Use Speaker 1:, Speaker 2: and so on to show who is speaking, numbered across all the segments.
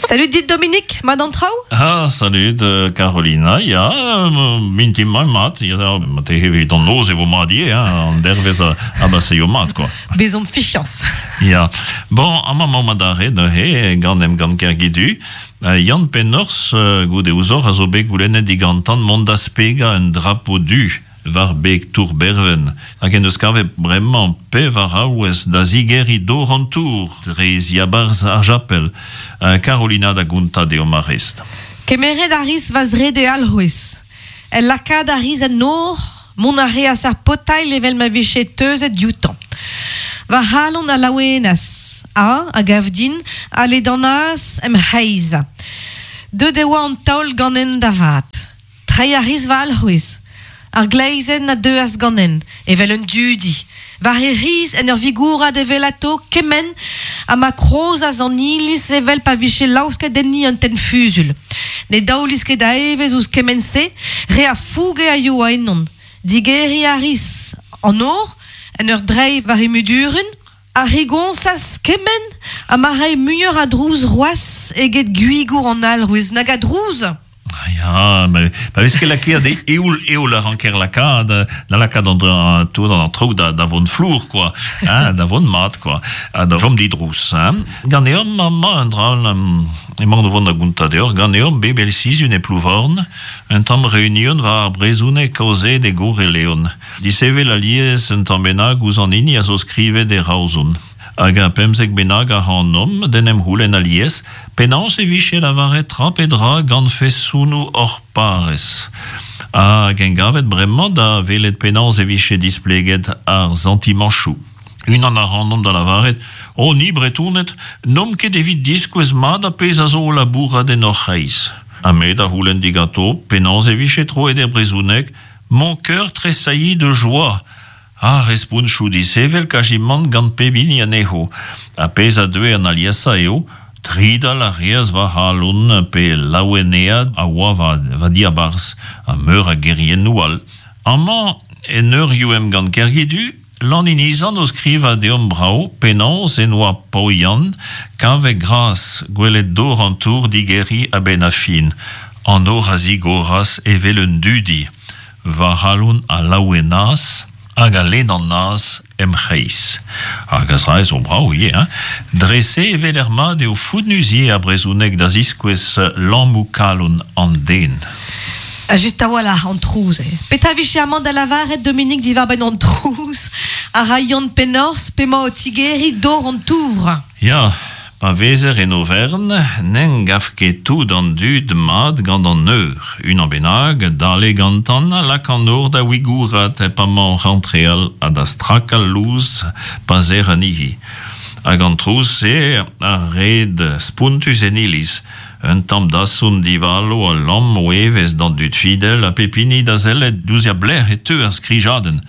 Speaker 1: Salud dit Dominique, mat an traoù?
Speaker 2: Ah, salud Carolina, ya, mintin mat mat, ya, te evit an noz e vo mat ivez, hein, an dervezh a baseio mat, quoi.
Speaker 1: Bezomp fichañs.
Speaker 2: Ya, bon, amañ emaomp adarre neuze gant Emgann Kergidu. Yann Pennorzh, goude ouzhoc'h, a zo bet goulennet digantan mont da spegañ un drapo du. war beg tour Berven, hag en deus kavet bremañ pevar aouez da zigeriñ dor an tour dre ziabarzh ar japel. Carolina da gontañ deomp ar rest.
Speaker 1: Kemeret a ris va zrede alc'hwez. El lakaat a ris en nor, mont a reas ar potailh evel ma vije teuzet dioutañ. Va c'halon a laouenas, ha, a gav din, a ledanaas em c'hreiz. Deut e oa an taol ganen da vat. Treiñ a ris va alc'hwez. Ar gleizenn a deuas ganen, evel un dudi, war he c'hiz en ur vigourat evelato kement ha ma krozas an iliz evel pa vije laosket enni un tenn fusul. Ne daolis ket a evezh ouzh kement-se, re a fouge a yoa ennon. Digeriñ a ris an nor en ur dreiñ war he mudurun, a rigoñsas kement ha ma rae muioc'h a drouz c'hoazh eget gwigour an alc'hwez. Nag a drouz!
Speaker 2: Ya, pa vez ket lakaet e eoul, eoul a ranker lakaat, da lakaat an tout an traoù da, da vont flour, quoi, hein, da vont mat, quoi, ha da chom didrouz. Hein. Ganeomp amañ un dra, emaon o vont da gontañ deoc'h, ganeomp bep eil sizhun e Plouvorn, un tamm reunion war ar brezhoneg kaozeet e Gourre-Leon. Disevel alies un tamm bennak ouzh an hini a zo skrivet e Raozon. Hag ar 15 bennak ac'hanomp d'en em c'houlenn alies penaos e vije lavaret tra pe dra gant fesonoù hor parrez. Hag engavet bremañ da welet penaos e vije displeget ar santimanchoù. Unan ac'hanomp da lavaret, O ni Bretoned, n'omp ket evit diskouez mat ar pezh a zo o labourat en hor c'hreiz. Ha me da c'houlenn diganto penaos e vije troet er brezhoneg Mon cœur tressaillit de joie. Ha responchoù disheñvel kazimant gant pep hini anezho. Ar pezh a deue an aliesañ eo, tridal a reas va c'halon pe laoueneat a oa va diabarzh, ha meur a geriennoù all. Amañ, en eurioù emgann Kergidu, Lan Inizan o skrivañ deomp brav penaos en oa Paoian kavet gras gwelet dor an tour digeriñ a-benn ar fin. An nor a zigoras evel un dudi. Va c'halon a laouenaas hag a ledanaas em c'hreiz. Hag a zra zo brav ivez, hein? Dre-se e weler mat eo founnus ivez ar brezhoneg da ziskouez lammoù kalon an den.
Speaker 1: Ha just a-walc'h an trouz eo. Petra 'vije amañ da lavaret, Dominique, diwar-benn an trouz a ra Yann Pennorzh p'emañ o tigeriñ dor an tour?
Speaker 2: Ya, pa vezer en overn, n'en gav ket tout an dud mat gant an eur. Unan bennak, dale gantan, a lak an nor da wigourat pa 'mañ oc'h antreal ha da strakal louz pa serr anezhi. Hag an trouz-se a red spontus en iliz. Un tamm dasson divalo a lamm o evezh d'an dud fidel ha pep hini da sellet diouzh a blec'h e teu ar skrijadenn.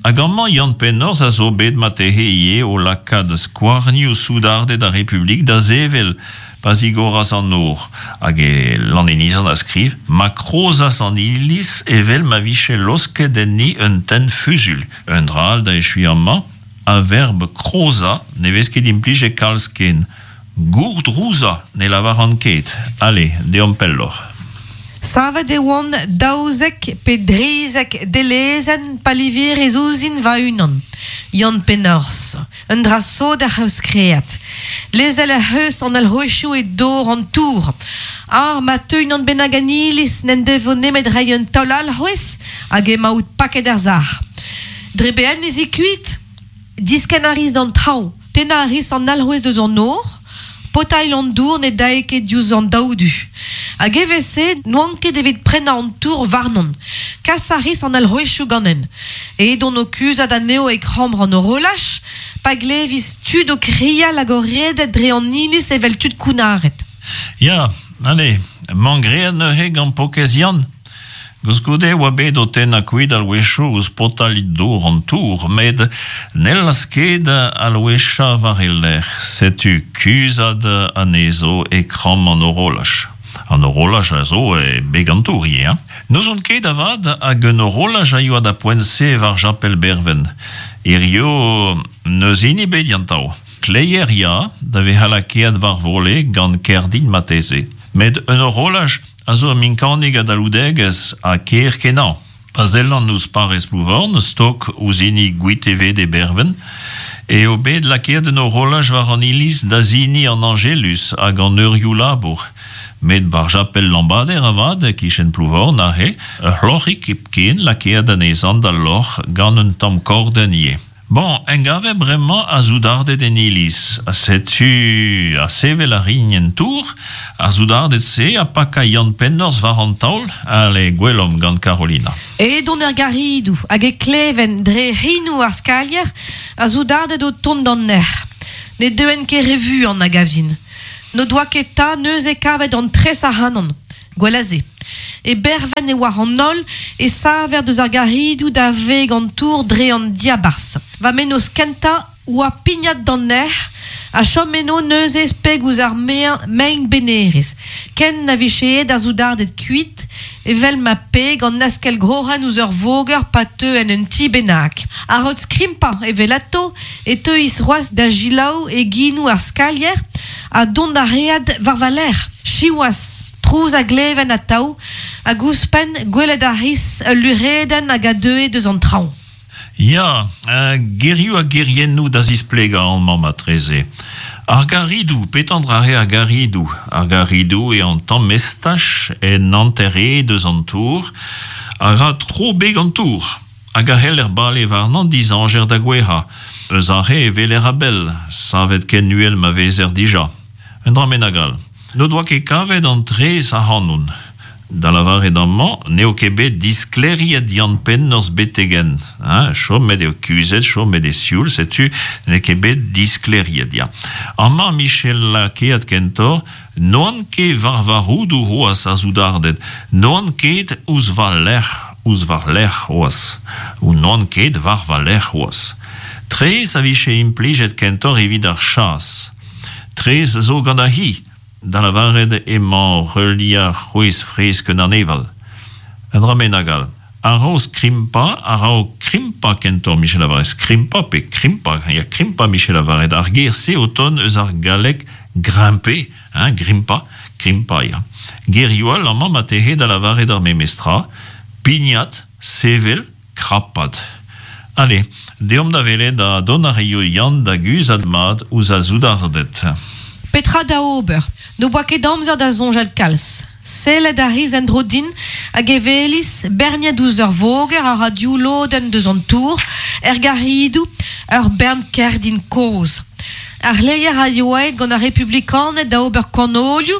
Speaker 2: Hag amañ Yann Pennorzh a zo bet marteze ivez o lakaat skouarnioù soudarded ar Republik da sevel pa zigoras an nor. Hag e Lannenizan a skriv ma krozas an iliz evel ma vije losket enni un tenn fuzuilh. Un dra all da echuiñ amañ, ar verb krozañ ne vez ket implijet kalz ken. Gourdrouzañ ne lavaran ket. Ale, deomp pelloc'h.
Speaker 1: Savet e oan 12 pe drizek delezenn pa livirez ouzhin va-unan, Yann Pennorzh, un dra sot ec'h eus graet. Lezel ec'h eus an alc'hwezioù e dor an tour. Ah, ma teu unan bennak en iliz n'en devo nemet reiñ un taol alc'hwez hag emaout paket er sac'h. Dre be ez i kuit? Diskenn a ris d'an traoñ. Tennañ a ris an alc'hwez eus an nor, potailh an dour ne dae ket diouzh an daou du. Hag evel-se n'oan ket evit prennañ an tour warnon. Kas a ris an alc'hwezioù ganen. Edon o kuzhat anezho e kambr an horolaj pa glevis tud o krial hag o redek dre an iliz evel tud kounnaret.
Speaker 2: Ya, ale, 'mañ graet neuze gant Pokez Yann. Koulskoude e oa bet o tennañ kuit alwechoù ouzh potailh dour an tour, met n'hellas ket alwechañ war e lerc'h. Setu kuzhat anezho e kramm an horolaj. An horolaj a zo e beg an tour ivez hein. N'ouzon ket avat hag un horolaj a yoa da poent-se war japel Berven. Hirio n'eus hini bet gantañ. Kleier ya, da vezañ lakaet war vole gant kerdin marteze. Met un horolaj a zo ur minkanig a dalvoudegezh ha ker-kenañ. Pa sellan ouzh parrez Plouvorn, stok ouzh hini Gwiteved e Berven, eo bet lakaet un horolaj war an iliz da siniñ an Añjeluz hag an eurioù labour. Met war japel Lambader avat, e-kichen Plouvorn aze, ur c'hloc'hig hepken lakaet anezhañ da loc'h gant un tamm kordenn ivez. Bon, engavet bremañ ar soudarded en iliz, ha setu ha sevel a rin en tour, ar soudarded-se ha pakañ Yann Pennorzh war an taol, ale, gwelomp gant Karolina.
Speaker 1: Edon er garidoù hag e kleven dre c'hinoù ar skalier ar soudarded o tont d'an nec'h. Ne deuent ket re vuan, a gav din. N'o doa ket 'ta neuze kavet an tres ac'hanon. Gwell a se. E Berven e oar an holl e saver deus ar garidoù da veg an tour dre an diabarzh. Va mennozh kentañ oa pignat d'an nec'h ha chom eno neuze speg ouzh ar mein benerez, ken na vije aet ar soudarded kuit, evel ma peg an askell-groc'hen ouzh ur voger pa teu en un ti bennak. A-raok skrimpañ evelato e teuis c'hoazh da selaou e ginoù ar skalier ha dont a read war va lerc'h. Siwazh, trouz a gleven atav, hag ouzhpenn gwelet a ris ul luc'hedenn hag a deue deus an traoñ.
Speaker 2: Ya, gerioù ha geriennoù da zisplegañ amañ martreze. Ar garidoù, petra an dra-se ar garidoù? Ar garidoù eo an tamm estaj en hanter-hed eus an tour a ra tro beg an tour hag a c'heller bale warnañ dizañjer da gouezhañ. Eus aze e weler a-bell, savet ken uhel ma vezer dija. Un dra bennak all. N'o doa ket kavet an tres ac'hanon. Da lavaret amañ n'eo ket bet disklêriet Yann Pennorzh betek-henn. Hein, chomet eo kuzhet, chomet eo sioul, setu n'eo ket bet disklêriet, ya. Amañ Michel lakaet kentoc'h, n'oan ket war va roudoù c'hoazh ar soudarded, n'oan ket ouzh va lerc'h, ouzh war lerc'h c'hoazh, ou n'oan ket war va lerc'h c'hoazh. Tres a vije implijet kentoc'h evit ar chas. Tres zo gant ar c'hi, da lavaret emañ heuliañ c'hwezh fresk un aneval. Un dra bennak all. A-raok skrimpañ, a-raok krimpañ kentoc'h 'mije lavaret skrimpañ pe krimpañ, ya krimpañ 'mije lavaret ar ger-se o tont eus ar galleg grimper, hein, grimpañ, krimpañ ya. Gerioù all amañ marteze da lavaret ar memes tra, pignat, sevel, Krapat. Ale, deomp da welet ha dont a raio Yann da guzhat mat ouzh ar soudarded.
Speaker 1: Petra da ober? N'o boa ket amzer da soñjal kalz. Sellet a ris en-dro din hag e welis, berniet ouzh ur voger a ra div lodenn deus an tour, er garidoù, ur bern kerdin kozh. Ar c'hleier a yoa aet gant ar republikaned da ober kanolioù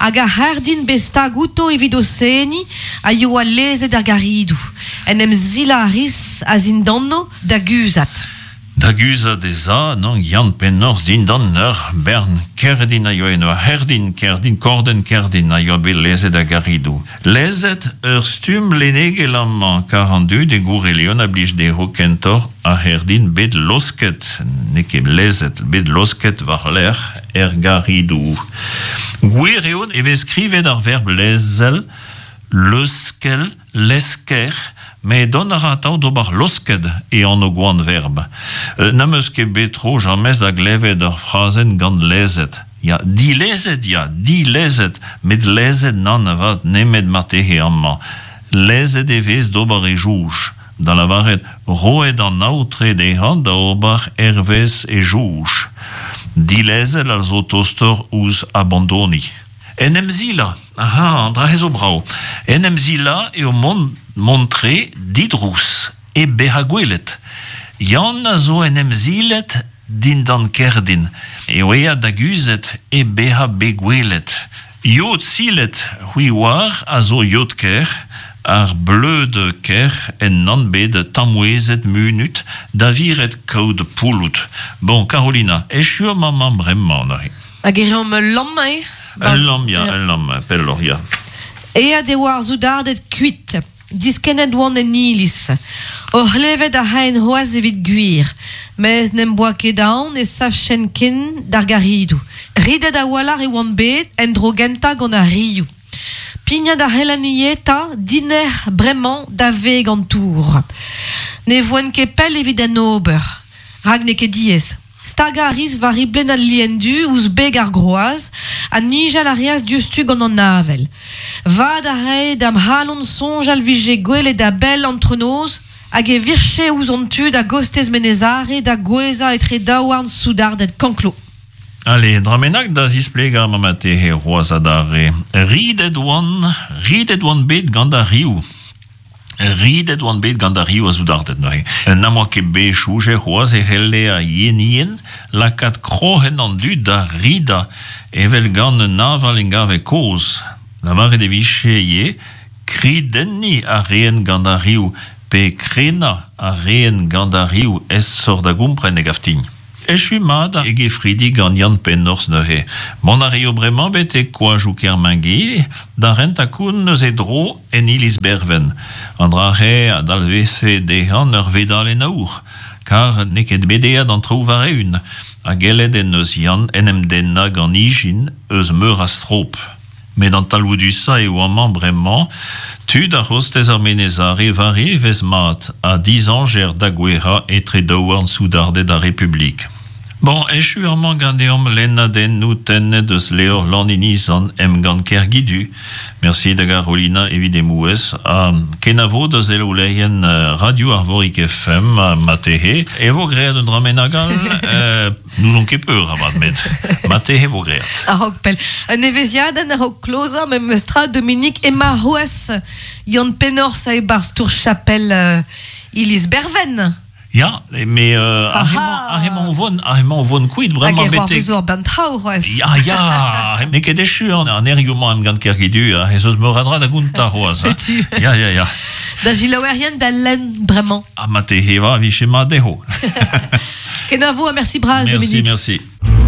Speaker 1: hag ar c'herdin bet stag outo evit o seniñ a yoa lezet er garidoù. En em silañ a ris a-zindanno da guzhat.
Speaker 2: Da guzhat ez a, nann, Yann Pennorzh dindan ur bern kerdin a yoa eno, ur c'herdin, kerdin, kordenn kerdin a yoa bet lezet er garidoù. Lezet ur stumm lennegel amañ, kar an dud e Gourelion a blij dezho kentoc'h ar c'herdin bet losket, n'eo ket lezet, bet losket war-lerc'h er garidoù. Gwir eo e vez skrivet ar verb lezel, leuskel, lesker, met dont a ra atav d'ober losket e anv-gwan verb. N'am eus ket bet tro james da glevet ur frazenn gant lezet. Ya, dilezet, ya, dilezet, met lezet nann avat, nemet marteze amañ. Lezet e vez d'ober e soñj, da lavaret roet an aotre dezhañ da ober hervez e soñj. Dilezel a zo tostoc'h ouzh abandoniñ. En em silañ, aha, an dra-se zo brav. En em silañ eo mont mont-tre didrouz, hep bezañ gwelet. Yann a zo en em silet dindan kerdin, eo aet da guzhet hep bezañ bet gwelet. Yod silet, c'hwi 'oar, a zo yod-kerc'h, ar bleud kerc'h ennan bet tamouezet munut da viret kaout pouloud. Bon, Karolina, echu omp amañ bremañ neuze.
Speaker 1: Hag e reomp ul lamm, eh?
Speaker 2: Ul lamm, ya, ul lamm, pelloc'h, ya.
Speaker 1: Aet e oa ar soudarded kuit. Diskennet oant en iliz. O c'hlevet a raen c'hoazh evit gwir, mes n'em boa ket aon e savchen ken d'ar garidoù. Ridet a-walc'h e oan bet en dro gentañ gant ar rioù. Pignat a c'hellan ivez 'ta dinec'h bremañ da veg an tour. Ne voen ket pell evit en ober, rak n'eo ket diaes. Stagañ a ris war riblenn al lien-du ouzh beg ar groaz ha nijal a reas diouzhtu gant an avel. Vad a rae da'm c'halon soñjal 'vije gwelet a-bell antronoz hag e virche ouzh hon tud a-gostez Menez Are da gouezhañ etre daouarn soudarded Canclaux.
Speaker 2: Ale, dra bennak da zisplegañ ma marteze c'hoazh adarre. Ridet oan, ridet oan bet gant ar riv. Ridet oan bet gant ar riv a soudarded neuze. N'am boa ket bet soñjet c'hoazh e c'helle ar yenien lakaat kroc'hen an dud da ridañ evel gant un aval engave kozh. Lavaret e vije ivez kridenniñ a raent gant ar riv pe krenañ a raent gant ar riv aesoc'h da gompren e gav din. Echu mat e gefridi gant Yann Pennorzh neuze. Mont a raio bremañ betek koajoù Kermenguy da rentañ koun eus e dro en iliz Berven. An dra-se a dalvezfe dezhañ ur vedalenn aour, kar n'eo ket bet aet an traoù war-eeun, ha gellet en deus Yann en em dennañ gant ijin eus meur a strop. Met an talvoudusañ eo amañ bremañ tud ar c'hostez ar Menez Are war evezh mat ha dizañjer da gouezhañ etre daouarn soudarded ar Republik. Bon, echu amañ ganeomp lennadennoù tennet eus levr Lan Inizan, Emgann Kergidu. Mersi da Garolina evit he mouezh ha kenavo da selaoulerien Radio Arvorig FM marteze e vo graet un dra bennak all. N'ouzon ket peur avat, met marteze vo graet.
Speaker 1: A-raok pell. Un evezhiadenn a-raok klozañ memes tra, Dominique, emañ c'hoazh Yann Pennorzh e-barzh tour chapel euh, iliz Berven.
Speaker 2: Ya, mais euh, ar emañ o vont, ar emañ o vont kuit
Speaker 1: bremañ betek... Hag e c'hoarvezo ar bern traoù c'hoazh.
Speaker 2: Ya, ya, n'eo ket echu an erioù-mañ emgann Kergidu, ez eus meur a dra da gontañ c'hoazh.
Speaker 1: Setu.
Speaker 2: Ya, ya, ya.
Speaker 1: Da selaouerien da lenn bremañ.
Speaker 2: Ha marteze va vije mat dezho.
Speaker 1: Kenavo ha merci bras,
Speaker 2: Dominique. Merci, merci.